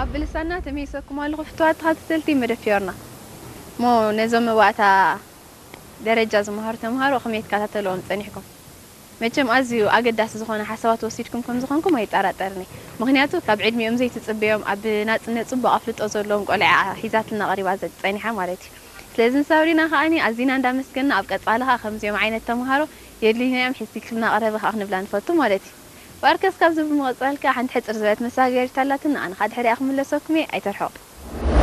ኣብ ብልሳና ተመይሰኩም ኣለኹ ፍትዋት ተኸታተልቲ መደብ ፊዮርና። እሞ ነዞም መባእታ ደረጃ ዝመሃሩ ተምሃሮ ከመይ ትከታተልዎም ጸኒሕኩም? መቸም ኣዝዩ ኣገዳሲ ዝኾነ ሓሳባት ወሲድኩም ከም ዝኾንኩም ኣይጠራጠርን እየ። ምኽንያቱ ካብ ዕድሚኦም ዘይትጽበዮም ኣብ ናጽነት ጽቡቕ ኣፍልጦ ዘለዎም ቆልዓ ሒዛትና ቀሪባ ዘ-፣ ጸኒሓ ማለት እዩ። ስለዚ ንሳብሪና ከኣኒ ኣዚና እንዳመስገንና ኣብ ቀጻሊ ከኣ ከምዚኦም ዓይነት ተምሃሮ የድልዩና እዮም ሒዝክልና ቅረቢ ከኣ ክንብላ ንፈቱ ማለት እዩ። ባርከስ ካብዚ ብምቕጻል ከኣ ሓንቲ ሕጽር ዝበለት መሳገሪት ኣላትና ኣነ ከኣ ድሕሪኣ ክምለሰኩም እየ ኣይተርሕቑ።